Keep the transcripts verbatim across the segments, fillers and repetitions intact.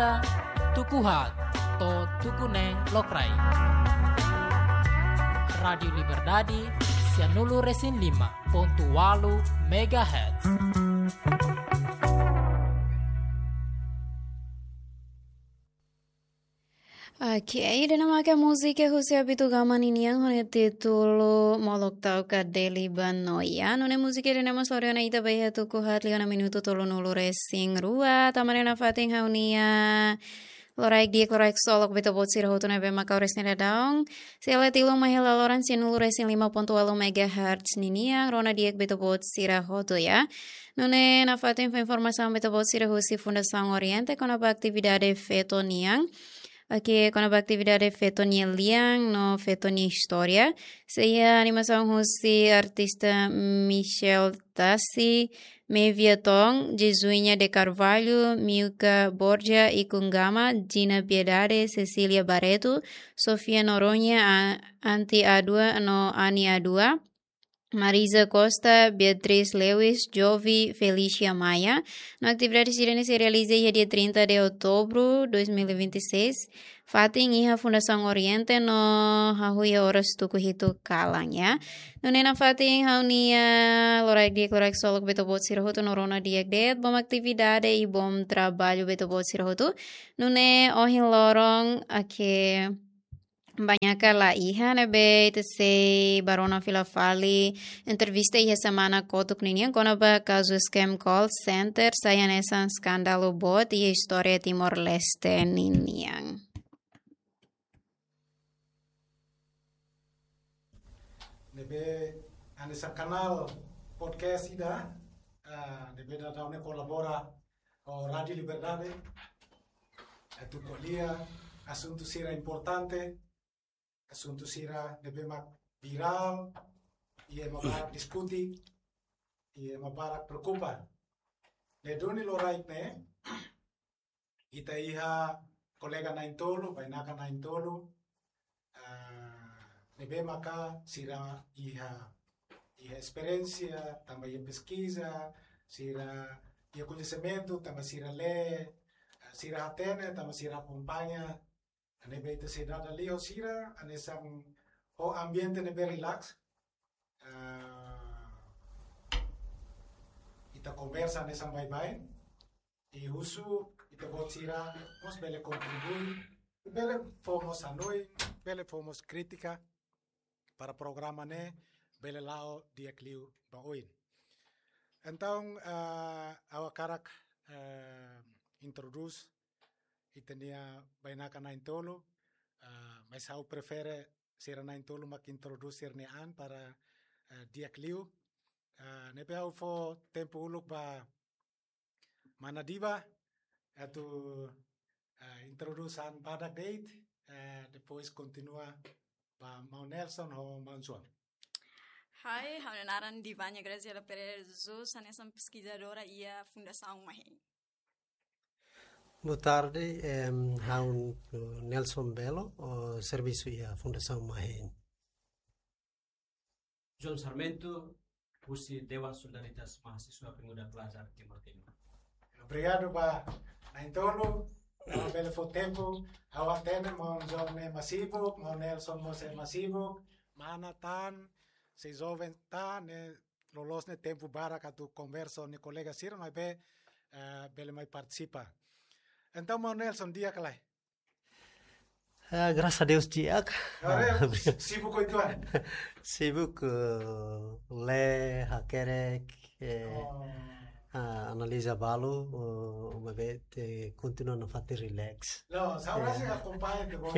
Tuku haat to'o tuku neen lokraik. Rádiu Liberdade, sianulu resin lima pontu ualu megahertz. Oke, ida-ne'e maka múzika husi Abitu Gama ninian ho nia títulu Molok Tau ka Deli Banoia. Nune'e múzika ida-ne'e mós lori ona ita ba iha tuku haat liu ona minutu tolunulu resin rua. Tanba ne'e nafatin ha'u-nia loraik di'ak, loraik ksolok ba ita-boot sira hotu ne'ebé mak oras ne'e daudaun sei hela tiha uluk mai iha laloran sianulu resin lima pontu ualu megahertz ninian, rona di'ak ba ita-boot sira hotu, ya. Nune'e nafatin fó informasaun ba ita-boot sira husi Fundasaun Oriente kona-ba atividade feto nian. Oke, kona-ba atividade feto nia lian no feto nia istória. Sei iha animasaun husi artista Michel Tassi, Mevia Tong, Jesuinha de Carvalho, Milka Borja, Ikun Gama, Gina Piedade, Cecília Barreto, Sofia Noronha, A-, Anti Adua no Ani Adua, Marisa Costa, Beatriz Lewis, Jovi, Felicia Maia. No atividade sira-ne'e sei realiza iha dia trinta de outubro dois mil e vinte e seis, fatin iha Fundasaun Oriente no hahú iha oras tuku hitu kalan, ya. Nune'e nafatin ha'u-nia loraik di'ak, loraik ksolok ba ita-boot sira hotu no rona di'ak de'it, bom atividade i bom traballu ba ita-boot sira hotu. Nune'e ohin loron, oke, bainaka la iha, ne'ebé ita sei bá rona fila fali entrevista iha semana kotuk ninian kona-ba kazu scam call center, sai hanesan eskandalu boot iha istória Timor-Leste ninian. Ne'ebé hanesan kanál podcast ida, ah, ne'ebé daudaun ne'e kolabora ho Rádiu Liberdade, atu ko'alia asuntu sira importante, asuntu sira ne'ebé mak virál, i ema barak diskuti, i ema barak preokupa. Ne'e duni loraik ne'e, ita iha kolega na'in-tolu, bainaka na'in-tolu, ah, ne'ebé maka sira iha, iha esperiénsia, tanba iha peskiza, sira iha koñesimentu, tanba sira lee, ah, sira hatene, tanba sira akompaña, ne'ebé ita sei dada liu sira, hanesan ho ambiente ne'ebé relax. Ah, ita konversa hanesan baibain. I husu ita-boot sira mós bele kontribui, bele fó mós hanoin, bele fó mós krítika para programa ne'e bele la'o di'ak liu ba oin. Entaun, ah, ha'u hakarak, ah, introdús ita-nia bainaka na'in-tolu, ah, mas ha'u prefere sira na'in-tolu mak introdús sira-nia an para, ah, di'ak liu. Ah, ne'ebé ha'u fó tempu uluk ba Mana Diva, atu, ah, introdús an badak de'it, ah, depois kontinua ba Maun Nelson ho Maun João. Hai, ha'u-nia naran Divania Graziela Pereira de Jesus, hanesan peskizadora iha Fundasaun Mahen. Boa tarde, em, ha'u Nelson Belo, ha'u servisu iha Fundasaun Mahen. João Sarmento, husi Dewan Solidaritas Mahasiswa Pemuda Pelajar Timor Timur. Obrigadu ba na'in-tolu, tanba bele fó tempu, ha'u hatene Maun João ne'e ema sibuk, Maun Nelson mós ema sibuk, mana tan, sei joven tan, ne'e loloos ne'e tempu barak atu konversa ho nia kolega sira, maibé, eh, bele mai partisipa. Entaun, Maun Nelson, di'ak ka lae? Ah, graças a Deus, di'ak. Agora é sibuk uitoan? Sibuk, eh, lee, hakerek, eh, Oh. ah, analiza balu, eh, maibé, eh, kontinua nafatin relax. Não, saudade Eh. akompaña ita-boot.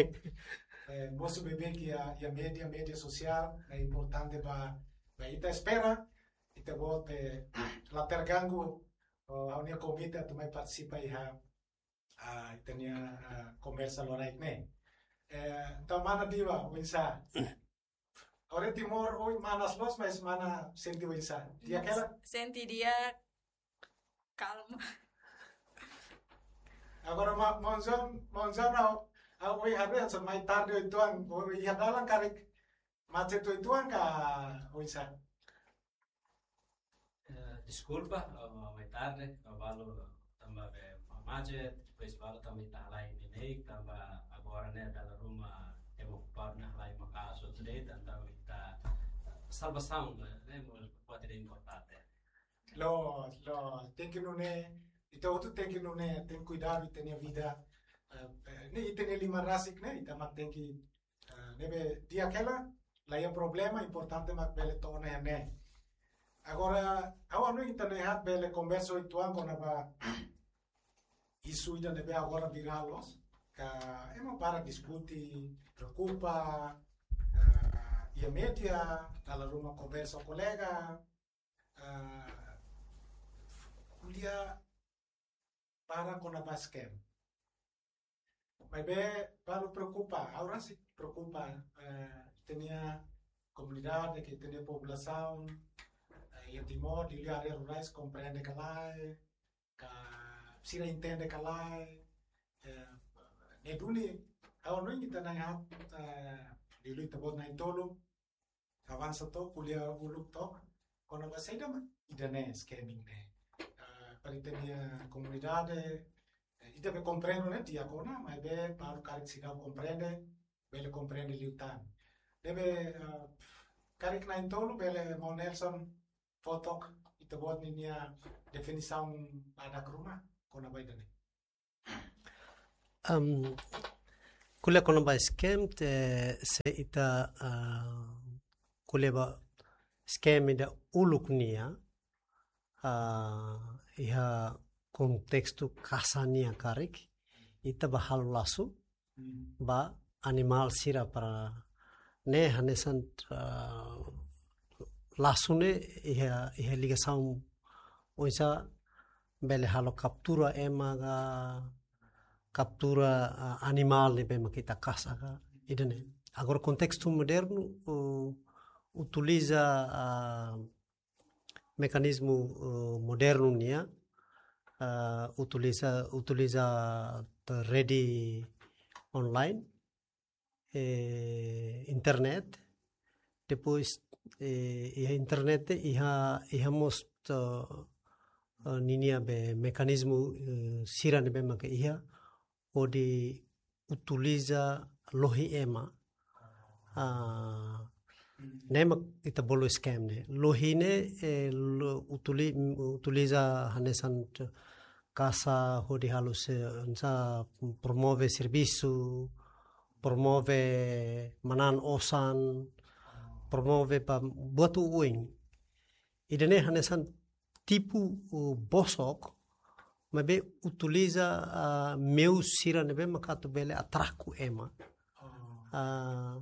Eh, mosu beibeik iha, iha média, média sosiál, é importante ba, ba ita espera, ita-boot, eh, la terganggu, oh, ha'u-nia konvite atu mai partisipa iha, ah, ita-nia, ah, konversa loraik ne'e. Eh, entaun, Mana Diva, oinsá? Agora Timor, ohin manas loos, mas mana sente oinsá? Di'ak hela? Sente di'ak, kalma. Agora, ma-, Maun João, Maun João, ha'u, ha'u ohin haree, hanesan mai tarde uitoan, ohin iha dalan karik macet uitoan ka oinsá? Eh, deskulpa, eh, mai tarde, eh, balu tanba be ma-, macet, Depois balu tanba ita halai ne'e, tanba agora ne'e dala ruma ema okupadu ne'e halai maka'as hotu de'it, entaun ita salvasaun ne'e, ne'e mós buat ida importante. Loos, loos. Tenke nune'e, ita hotu tenke nune'e, tenke kuidadu ita-nia vida. Eh, eh, ne'e ita-nia liman rasik ne'e, ita mak tenke, eh, ne'ebé di'ak hela, la iha problema, importante mak bele to'o iha ne'e. Agora, ha'u hanoin ita-nia hat bele konversa uitoan kona-ba isu ida ne'ebé agora virál loos, ka ema barak diskute, preokupa, eh, iha média, dala ruma konversa ho kolega, eh, ko'alia barak kona-ba scam. Maibé balu preokupa, ha'u rasik preokupa, eh, ita-nia komunidade, ka ita-nia populasaun, eh, iha Timor, liuliu área rurais, komprende ka lae, ka sira entende ka lae, eh, ne'e duni, ha'u hanoin ita na'in-haat, eh, liuliu ita-boot na'in-tolu, avansa to'o, ko'alia uluk to'o, kona-ba saida mak ida-ne'e scamming ne'e. Eh, para ita-nia komunidade, eh, ita be komprende ne'e di'ak ona, maibé balu karik seidauk komprende, bele komprende liután. Ne'ebé, eh, karik na'in-tolu bele maun Nelson fó took ita-boot ninia definisaun badak ruma kona-ba ida-ne'e. Am, ko'alia kona-ba scam, te, se ita, ah, ko'alia ba scam ida uluk nian, ah, iha kontestu kasa nian karik, ita bá halo lasu, hmm, ba animál sira para ne'e hanesan, ah, lasu ne'e iha, iha ligasaun oinsá bele halo kaptura ema ka kaptura, ah, animál ne'ebé mak ita kasa ka ida-ne'e. Agora kontestu modernu, uh, utiliza, ah, mekanizmu, eh, modernu nian, eh, utiliza, utiliza rede online, eh, internet. Depois, eh, iha internet, iha, iha mós, eh, eh, ninia be mekanizmu, eh, sira ne'ebé maka iha, hodi utiliza lohi ema. Ah, ne'e mak ita bolu scam ne'e. Lohi ne'e, eh, lo-, utili-, utiliza hanesan kasa hodi halo se, hanesan promove servisu, promove manán osan, promove ba buat oioin. Ida-ne'e hanesan tipu, uh, bosok, maibé utiliza, ah, meius sira ne'ebé maka atu bele atraku ema. Oh. Ah,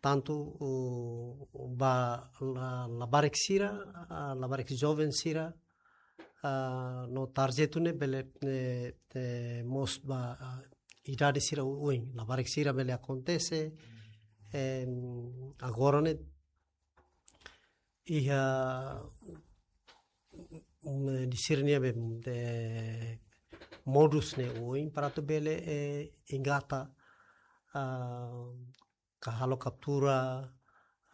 tantu, uh, ba la-, labarik sira, ah, labarik joven sira, ah, no tarjetu ne'e bele, eh, eh, mós ba, ah, idade sira oioin, labarik sira bele akontese, em, agora ne'e iha, mm, di sira-nia be, de, modus ne'e oioin para atu bele, eh, engata, ah, ka halo kaptura,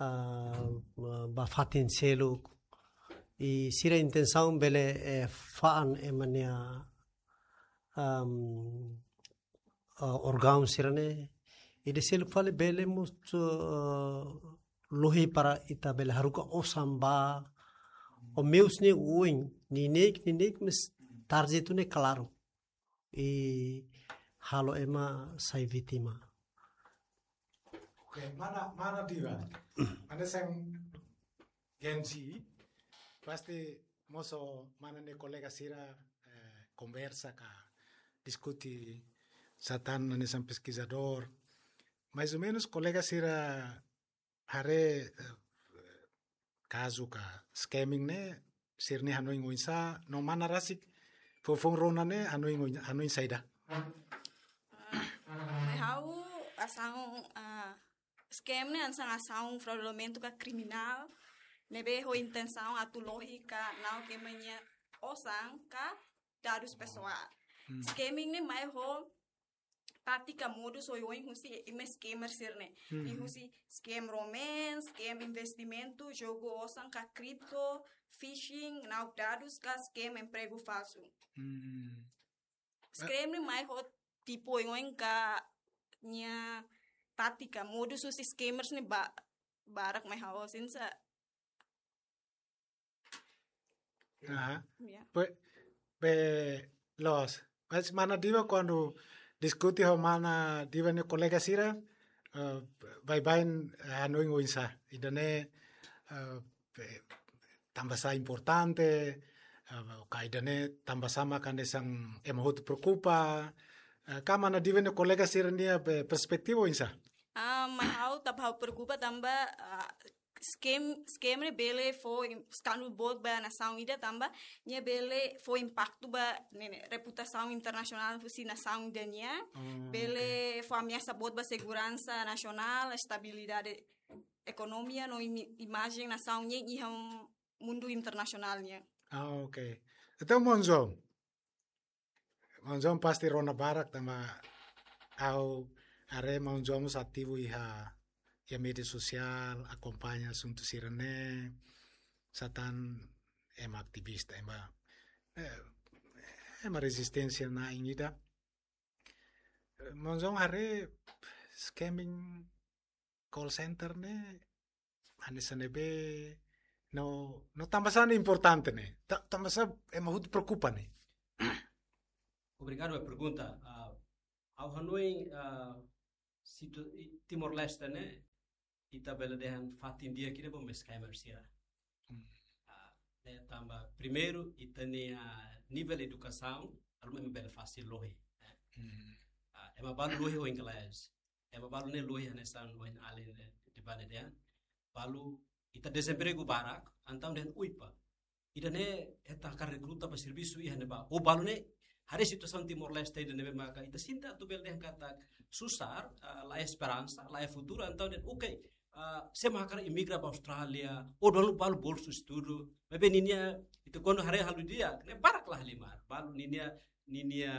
ah, ba fatin seluk. I sira intensaun bele, eh, fa'an ema nia, am, ah, orgaun sira-ne'e. I ida seluk fali bele mós, ah, lohi para ita bele haruka osan ba. Ho meius ne'e oioin, neineik, neineik, mas tarjetu ne'e klaru. I halo ema sai vítima. Oke, mana, mana Diva? Mana sang Gen Z, pasti mós ho mana nia kolega sira, eh, konversa ka diskute, sá tan hanesan peskizadór. Mais ou menus kolega sira haree, eh, kazu ka scamming ne'e, sira-nia hanoin oinsá, no mana rasik, fofoun rona ne'e, hanoin oin-, hanoin saida. Ah, mai ha'u asaun, ah, scam ne'e hanesan asaun fraudulenta ka kriminál, ne'ebé ho intensaun atu lohi ka na'ok ema nia osan ka dadus pesoál. Hmm. Scamming ne'e mai ho tátika modus oioin husi ema scammer sira-ne'e. Hmm. I husi scam romance, scam investimentu, jogu osan ka kripto, phishing, na'ok dadus ka scam empregu falsu. Hmm. Scam ne'e mai ho tipu oioin ka nia tátika, modus husi scammers ne'e ba, barak mai ha'u sente. Aha. Ya. Be, be, loos. Mas mana Diva kuandu diskute ho mana Diva nia kolega sira, eh, baibain, eh, hanoin oinsá. Ida-ne'e, eh, be, tanbasá importante, eh, ka ida-ne'e tanbasá mak hanesan ema hotu preokupa, eh, ka mana Diva nia kolega sira-nia be perspetiva oinsá? Ah, mai ha'u tanba ha'u preokupa tanba, ah, scam, scam ne'e bele fó im-, eskandalu boot ba nasaun ida tanba nia bele fó impaktu ba ne'e, ne'e, reputasaun internasionál husi nasaun ida nian. Oh, bele oke. Fó ameasa boot ba seguransa nasionál, estabilidade ekonomia no imi-, imajen nasaun nian iha mundu internasionál nian. Ah, oke. Entaun, maun João, maun João pasti rona barak tanba ha'u haree maun João mós ativu iha, iha média sosiál, akompaña asuntu sira-ne'e, satán ema ativista, ema, eh, ema rezisténsia na'in ida. Eh, maun João haree scamming call center ne'e hanesan ne'ebé, no, no tanbasá ne'e importante ne'e. Ta-, tanbasá ema hotu preokupa ne'e. Obrigadu pela pergunta. Ah, ha'u hanoin, ah, situ-, i-, Timor-Leste ne'e, ita bele dehan fatin di'ak ida ba scammer sira. Hmm. Ah, ne'e tanba primeiru, ita-nia nivel edukasaun, dala ruma ema bele fasil lohi, eh. Hmm. Ah, ema balu lohi ho inglés. Ema balu ne'e lohi hanesan ohin alin, eh, Divane dehan. Balu ita dezempregu barak, entaun dehan uipa. Ida-ne'e ita hakarak rekruta ba servisu iha ne'ebá. Ou balu ne'e, haree situasaun Timor-Leste ida ne'ebé maka ita sente atu bele dehan katak susar, ah, la iha esperansa, la iha futuru, entaun dehan, oke, ah, sé mak hakarak imigra ba Austrália, ou balu, balu bolsu estudu. Maibé ninia, ita kuandu haree halo di'ak, ne'e barak la halimar. Balu ninia, ninia,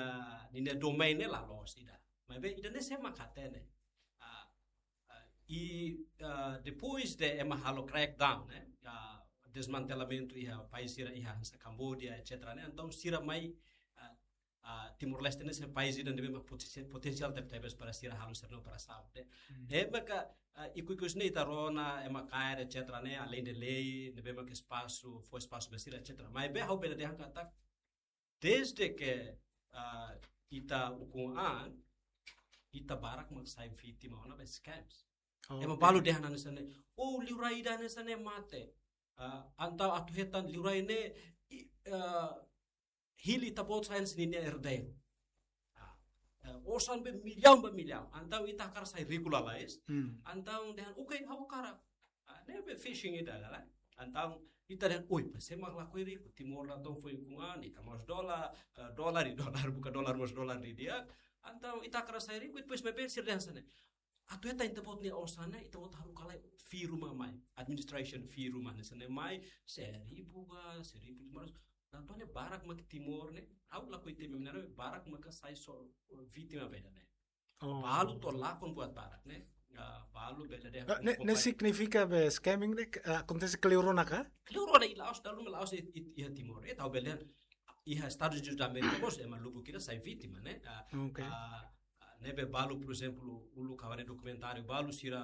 ninia domain ne'e la loos ida. Maibé ida-ne'e sé mak hatene. Ah, ah, i, ah, depois de ema halo crackdown, ne'e, ah, desmantelamentu iha país sira iha hanesan Kamboja, et cetera, ne'e, entaun sira mai, ah, ah, Timor-Leste ne'e hanesan país ida ne'ebé mak potensi-, potensiál tebetebes para sira halo sira-nia operasaun, ne'e. Hmm. Ne'e maka, ah, ikus-ikus ne'e ita rona, ema kaer, et cetera, ne'e, além de lei, ne'ebé maka espasu, fó espasu ba sira, et cetera. Maibé ha'u bele dehan katak, desde ke, ah, ita ukun an, ita barak mak sai vítima ona ba scams. Oh, ema oke. Balu dehan hanesan ne'e, oh, liurai ida hanesan ne'e mate. Ah, entaun atu hetan liurai ne'e, i, ah, hili ita-boot sai hanesan ninia herdeiru. Ah, eh, osan be millaun ba millaun. Entaun ita hakarak sai riku lalais. Hmm. Entaun dehan, oke, ha'u hakarak. Ah, ne'ebé phishing ida, la, la. Entaun ita dehan, oi, pa sé mak lakohi riku, Timor la tong foin ukun an, ita mós dolar, eh, dolar i dolar, buka dolar mós dolar didi'ak. Entaun ita hakarak sai riku, i depois maibé sira dehan hanesan ne'e, atu hetan ita-boot nia osan ne'e, ita-boot halo karik fee ruma mai, administration fee ruma hanesan ne'e mai, seribu ka, seribu lima ratus. Entaun ne'e barak mak Timor ne'e, ha'u lakohi temi mina ne'e, barak maka sai so, eh, vítima ba ida-ne'e. Oh. Balu to'o lakon buat barak ne'e. Ah, balu bele dehan. Ah, ne'e, ne'e signifika be scamming ne'e, ah, akontese kleur ona ka? Kleur ona i la'ós, dala ruma la'ós i, i, iha Timor. Ita bele dehan, iha Estadus Unidus da Amérika mós, ema lubuk ida sai vítima, ne'e? Ah, oke. Ah, ah, ne'ebé balu, por ezemplu, uluk ha'u haree dokumentáriu, balu sira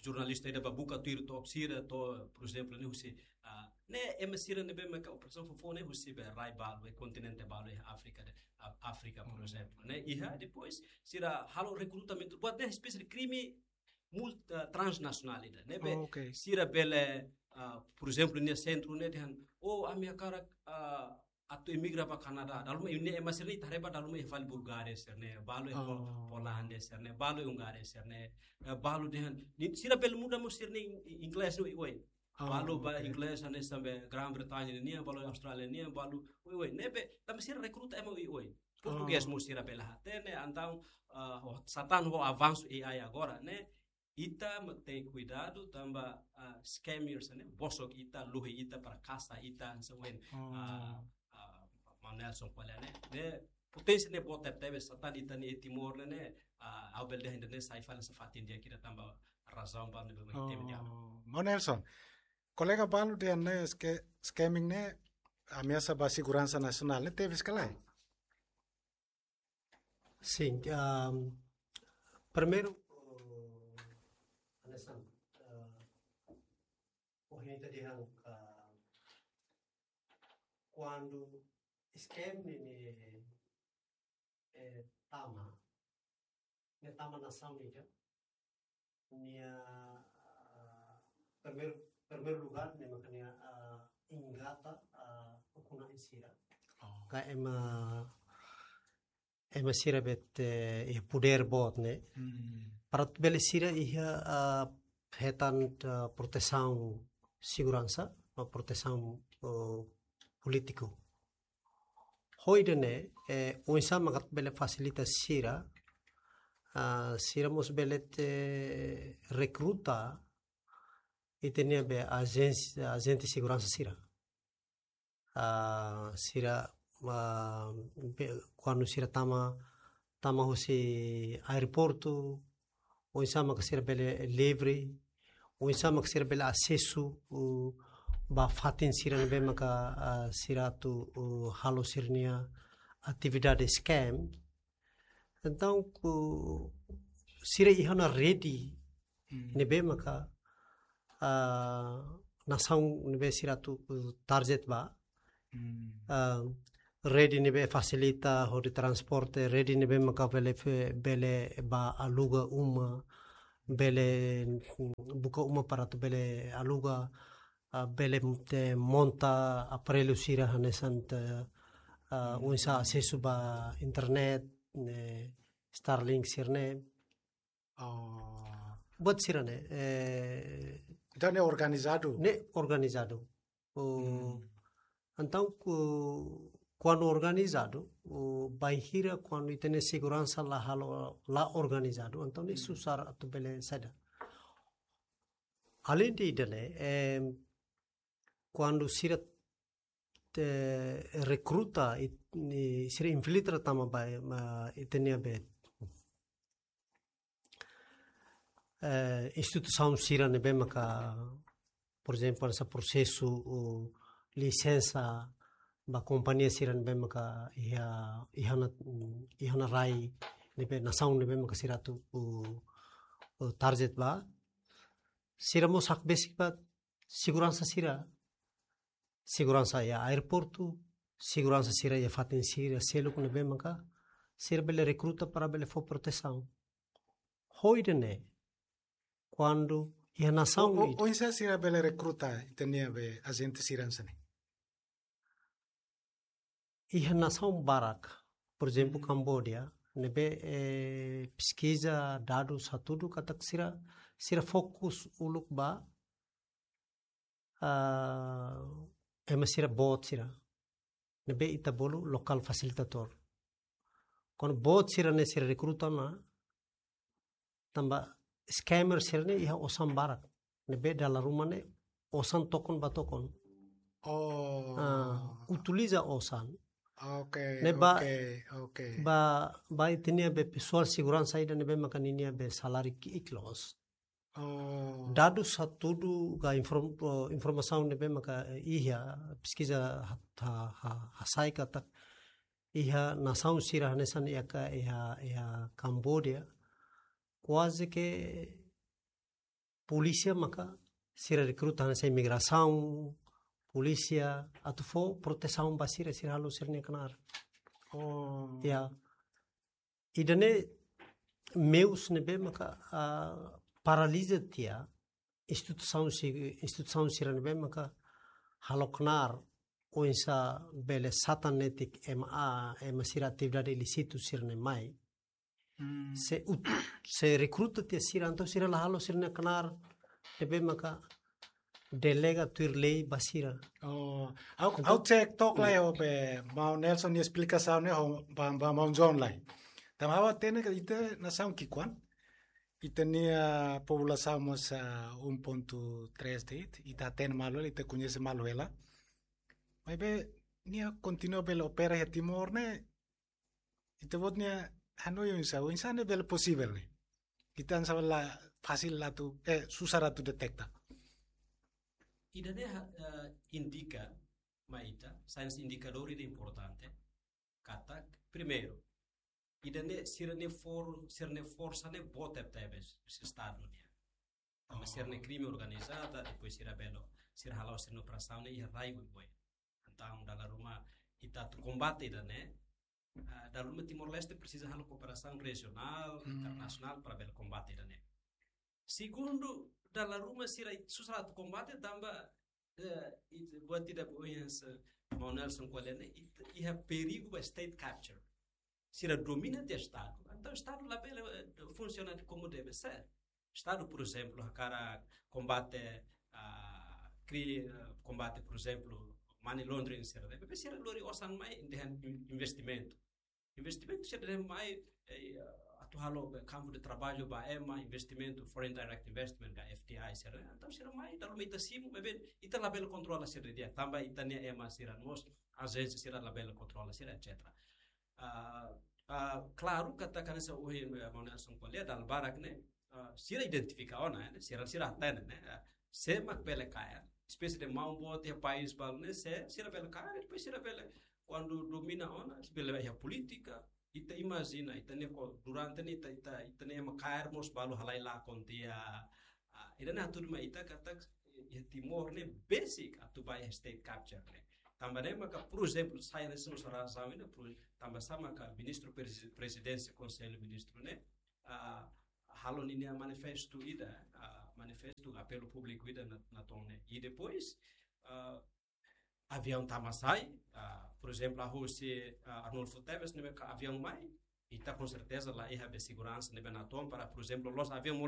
jornalista ida bá buka tuir to'ok sira to'o, por ezemplu, ne'e husi, ah, ne'e ema sira ne'ebé maka operasaun foufoun ne'e husi be rai balu, iha kontinente balu, iha Áfrika de, ah, Áfrika, por ezemplu, ne'e iha, depois sira halo rekrutamentu, buat ne'e espésie de krime mult-, ah, transnasionál ida, ne'ebé, oh, oke, sira bele, ah, por ezemplu, nia sentru ne'e dehan, oh, ami hakarak, ah, atu imigra ba Kanadá. Dala ruma ne'e ema sira-ne'e ita haree ba dala ruma iha fali Bulgária sira-ne'e, balu iha Pol-, oh, Polándia sira-ne'e, balu iha Hungária sira-ne'e, eh, balu dehan, ne'e sira bele muda mós sira-nia in-, inglés ne'e oioin. Oh, balu ba, oke, inglés hanesan be Grã-Bretaña nian, balu Austrália nian, balu oioin. Ne'ebé, tanba sira rekruta ema oioin. Oh. Portugés mós sira bele hatene, entaun, ah, ho, satán ho avansu A I agora, ne'e, ita mak tenke kuidadu tanba, ah, scammers ne'e bosok ita, lohi ita, para kasa ita, hanesan ohin, oh, ah, ah, maun Nelson ko'alia ne'e. Ne'e, potensi ne'e boot tebes, satán ita-nia Timor ne'e, ne'e, ah, ha'u bele dehan ida-ne'e sai fali hanesan fatin di'ak ida tanba razaun balu ne'ebé mak temi di'ak. Oh, maun Nelson, kolega balu dehan ne'e sca-, scamming ne'e ameasa ba seguransa nasionál, ne'e tebes ka lae? Sin, ehm, primeiru, eh, hanesan, eh, ohin ita dehan, eh, kuandu scam ne'e, ne'e, eh, tama, ne'e tama nasaun ida, nia, ah, primeiru, primeiru lugar, ne'e maka nia, ah, engata, ah, ukun-na'in sira. Oh. Ka ema, ema sira be, eh, iha podér boot ne'e. Hmm. Para atu bele sira iha, ah, hetan, ah, protesaun seguransa, no protesaun, oh, polítiku. Ho ida-ne'e, eh, oinsá maka atu bele fasilita sira, ah, sira mós bele, eh, rekruta ita-nia be ajénsia, ajente seguransa sira. Ah, sira, ah, be, kuandu sira tama, tama husi aeroportu, oinsá maka sira bele livre, oinsá maka sira bele asesu, uh, ba fatin sira ne'ebé maka, ah, sira atu, uh, halo sira-nia atividade scam. Entaun, ku, sira iha ona rede, hmm, ne'ebé maka, ah, nasaun ne'ebé sira atu, uh, target ba. Hmm. Ah, rede ne'ebé fasilita hodi transporte, rede ne'ebé maka bele fe-, bele ba aluga uma, bele, mm, buka uma para atu bele aluga, ah, bele te monta aparellu sira hanesan te, ah, hmm, oinsá asesu ba internet, ne'e, Starlink sira-ne'e. Oh. Buat sira-ne'e, eh, entaun ne'e organizadu? Ne'e organizadu. Oh, hmm, entaun, ku-, kuandu organizadu, oh, bainhira kuandu ita-nia seguransa la halo, la organizadu, entaun ne'e, hmm, susar atu bele saida. Além de ida-ne'e, eh, kuandu sira te rekruta, it-, ni sira infiltra tama ba, ma, ita-nia be, eh, instituisaun sira ne'ebé maka, por ezemplu, hanesan prosesu, ou lisensa ba kompañia sira ne'ebé maka iha, iha ona, iha ona rai ne'ebé, nasaun ne'ebé maka sira atu, ou, ou target ba. Sira mós hakbesik ba seguransa sira. Seguransa iha aeroportu, seguransa sira iha fatin sira seluk ne'ebé maka sira bele rekruta para bele fó protesaun. Ho ida-ne'e, kuandu iha nasaun, o, o, ida, oinsá sira bele rekruta ita-nia be ajente sira hanesan ne'e? Iha nasaun barak, por ezemplu, hmm, Kamboja, ne'ebé, eh, peskiza, dadus hatudu katak sira, sira fokus uluk ba, ah, ema sira boot sira. Ne'ebé ita bolu local facilitator. Kuandu boot sira-ne'e sira rekruta ona, tanba scammer sira-ne'e iha osan barak. Ne'ebé dala ruma ne'e osan tokon ba tokon. Oh. Ah, utiliza osan. Oke, ne'e ba, oke, oke, ba, ba ita-nia be pesoál seguransa ida ne'ebé maka ninia be saláriu ki'ik loos. Oh. Dadus hatudu ka inform-, eh, informasaun ne'ebé maka, eh, iha peskiza ha-, ha-, ha-, hasai katak iha nasaun sira hanesan iha ka, iha, iha Kamboja, kuaze ke polísia maka sira rekruta hanesan imigrasaun, polísia, atu fó protesaun ba sira, sira halo sira-nia knaar. Oh. Ya. Ida-ne'e meius ne'ebé maka, ah, paraliza tiha instituisaun si-, instituisaun sira ne'ebé maka halo knaar oinsá bele satan netik ema, ah, ema sira atividade ilísitu sira-ne'e mai. Hmm. Se ut-, se rekruta tiha sira, entaun sira la halo sira-nia knaar ne'ebé maka delega tuir lei ba sira. Oh, ha'u, entaun, ha'u cek took lai, hmm, ho be maun Nelson nia esplikasaun ne'e ho ba, ba maun John lai. Tanba ha'u hatene katak ita nasaun ki'ikoan, ita-nia populasaun mós, ah, um ponto três de'it, ita hatene malu hela, ita koñese malu hela. Maibé nia kontinua bele opera iha Timor ne'e, ita-boot nia hanoin oinsá, oinsá ne'e bele posivel ne'e? Ita hanesan la fasil atu, eh, susar atu deteta. Ida-ne'e ha-, eh, indika mai ita, saida indikadór ida importante, katak, primeiru, ida-ne'e sira-nia for, sira-nia forsa ne'e boot tebes, husi Estadu nian. Tanba sira-nia krime organizada, depois sira bele, sira hala'o sira-nia operasaun ne'e iha rai Oioin. Entaun, dala ruma ita atu kombate ida-ne'e, ah, dala ruma Timor-Leste presiza halo kooperasaun rejionál, internasionál para bele kombate ida-ne'e. Segundu, dala ruma sira susar atu kombate tanba, eh, it-, buat ida ohin hanesan Maun Nelson ko'alia ne'e, it-, iha perigu ba state capture. Sira domina tiha Estadu. Entaun Estadu labele, eh, funsiona komu deve ser. Estadu, por ezemplu, hakarak kombate, ah, kri-, eh, kombate, por ezemplu, money laundering sira ne'e. Maibé sira lori osan mai dehan in-, investimentu. Investimentu sira dehan mai, eh, atu halo, eh, kampu de traballu ba ema, investimentu, foreign direct investment, ka F D I sira ne'e. Entaun sira mai, dala ruma ita simu, maibé ita labele kontrola sira di'ak. Tanba ita-nia ema sira mós, ajénsia sira labele kontrola sira, et cetera. Ah, ah, klaru, katak hanesan ohin, eh, Maun Nelson ko'alia, dala barak ne'e, ah, sira identifika ona, eh, sira, sira hatene, ne'e, ah, sé mak bele kaer, espésie de maun boot iha país balu ne'e, sé, sira bele kaer, depois sira bele, kuandu domina ona, sira bele iha polítika, ita imajina, ita-nia ko-, durante ne'e ita, ita, ita-nia ema kaer mós balu halai lakon tiha, ah, ida-ne'e atu dehan mai ita katak, iha Timor ne'e besik atu ba iha state capture ne'e. Tanba ne'e maka, por ezemplu, sai hanesan ne'e sara sawi ne'e, por, tanba sá maka ministru presi-, prezidénsia Konsellu Ministru ne'e, ah, halo ninia manifestu ida, ah, manifestu apelu públiku ida na, natoon ne'e. I depois, ah, aviaun tama sai, ah, por ezemplu, hahú husi, ah, Arnulfo Teves, ne'ebé ka aviaun mai, ita com certeza la iha be seguransa ne'ebé natoon para, por ezemplu, la'ós aviaun